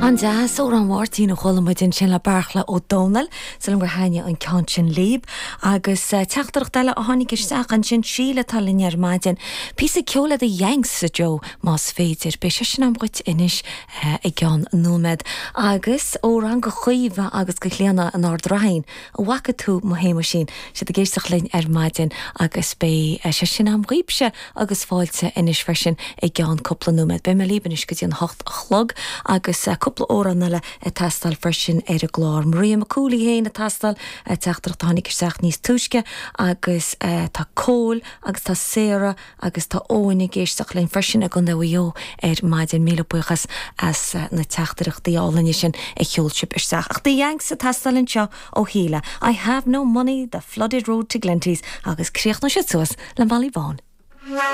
An-deas, Amhrán Mháirtín a chuala muid ansin le Bearchla Ó Domhnaill, súil agam gur thaitnigh an ceann sin libh. Agus teachtaireacht eile a tháinig isteach ansin, Síle atá linn ar maidin. Píosa ceoil le The Yanks, a Joe, más féidir. Beidh sé sin agam dhuit anois i gceann nóiméad. Agus amhrán go Caoimhe agus go Clíona in Ard Raithin. An bhfaca tú mo Shéamuisín? Siad ag éisteacht linn ar maidin agus beidh sé sin a'm dhaoibhse agus fáilte anois freisin i gceann cúpla nóiméad. Beidh mé libh anois go dtí an hocht a chlog agus cúpla amhrán eile ag teastáil freisin ar an gclár. Maria McCool í féin ag teastáil, teachtaireacht a tháinig isteach níos túisce agus tá Cóil agus tá Sarah Agus tá Eoin ag éisteacht linn freisin i gContae Mhaigh Eo ar maidin. Míle buíochas as na teachtaireachtaí álainne sin a sheol sibh isteach. Ach The Yanks ag teastáil anseo ó Shíle. I have no money, the flooded road to Glenties agus críochnóidh siad suas le Molly Vaughan.